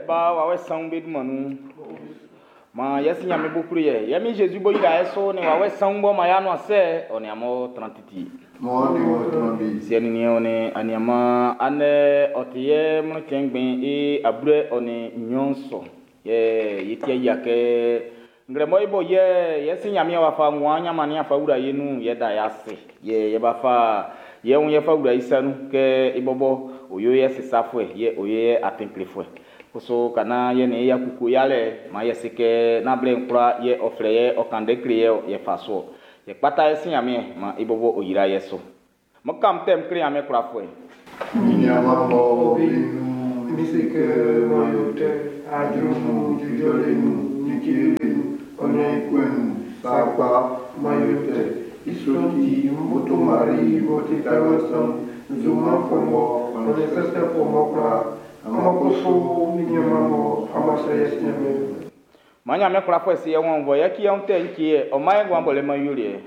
Ba, Wawɛ Saun be dunman nun. Maan yɛ Si Nyanmiɛn b'ɔ klo ye, yɛ Min Jésus b'ɔ yra e su nin Wawɛ Saun b'ɔ man y'a nuan sɛ, ɔ nin amun tran titi. Maan ɔ nin wɔ tran wie. Siɛ nin niɛn ɔ nin aniaanman, andɛ ɔ ti yɛ mlɔn cɛn ngbɛn i ablɛ ɔ nin nnyɔn sɔ. Yɛ yɛ ti yia kɛ nglɛmɔ i bo yɛ yɛ Si Nyanmiɛn w'a fa nguan nyanman nin a fa wla ye nun yɛ da y'a ase. Yɛ yɛ b'a fa yɛ wun yɛ fa wla i sa nun kɛ i bɔbɔ o yo yɛ sisafuɛ yɛ o yo yɛ atin klefuɛ. Kusu ka naan yɛ nin i y'a kuku yalɛ, maan yɛ se kɛ nán blɛ'n kwlaa yɛ ɔ flɛ yɛ ɔ kan ndɛ kle yɛ yɛ fa so. Yɛ kpata yɛ Si Nyanmiɛn maan i bɔbɔ o yra yɛ so. Mo kam tɛm kle Nyanmiɛn kwlafuɛ. Mi niaman bɔ be nun, mi se kɛ man yo tɛ, ajo nun, jujɔle nun, nikele nun, ɔ nin ikue nun, sakpa, man yo tɛ. I sɔ'n ti, m boto Mari b'ɔ ti Taiwan san, nzunman fɔnvɔ, ɔ nin sɛsɛfuɛ mɔ kwlaa. Amun kusu mi niaman mɔ amun srɛ yɛ Si Nyanmiɛn. Maan Nyanmiɛn kwlafuɛ si yɛ wɔn vɔ yɛ ki yɛ tɛ nki yɛ ɔ man yɛ nguan bɔlɛ man yoliɛ.